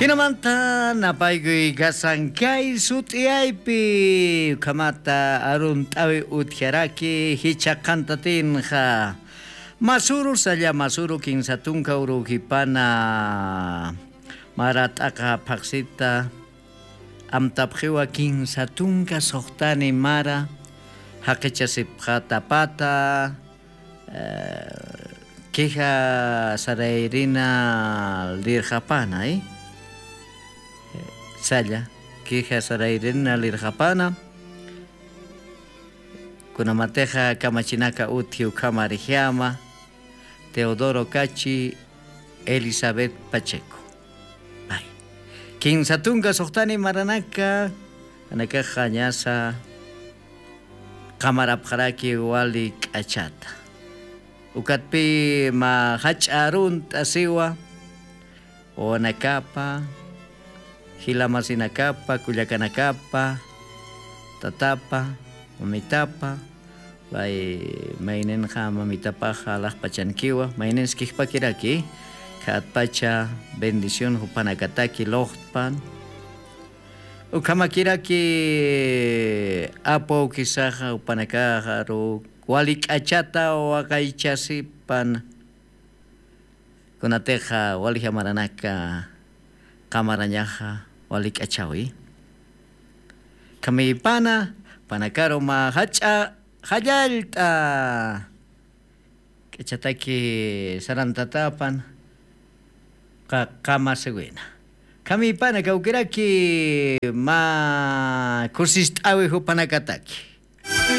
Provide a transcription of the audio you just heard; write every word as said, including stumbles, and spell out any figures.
Jinamanta napaykuy kasan kay sut'iyaypi, ukhamata arunt'awi utjaraki jichha qhantatinxa. Masuru, salla masuru, kinsa tunka urujipana mara t'aqa phaqsita amtapxiwa, kinsa tunka suxtani mara jaqichasipxatapata, eh, queja sarayrina lirxapana, eh? Salla, queja sarayrina lirxapana, kunamatixa kamachinaka utji ukhamarjama Teodoro Cachi, Elizabeth Pacheco. Ay. Kinsa tunka suxtani maranaka, anakaxa ñasa qamarapxaraki wali k'achata. Ukatpi mä jach'a arunt'asiwa, wawanakapa, jila masinakapa, kullakanakapa, tatapa, mamitapa, pay mayninxa mamitapaxa alaxpachankiwa, mayninskixpakiraki, khatpacha bendición jupanakataki luxtpan. Ukhamakiraki apu awkisaxa jupanakaxaru wali k'achata waqaychasipan. Kunatixa wali jamaranaka qamarañaxa wali k'achawi. Khamipana, panakaru mä jach'a jallallt'a k'achataki sarantatapan, qa-, qamasiwina. Khamipana kawkiraki mä kusist'awi jupanakataki.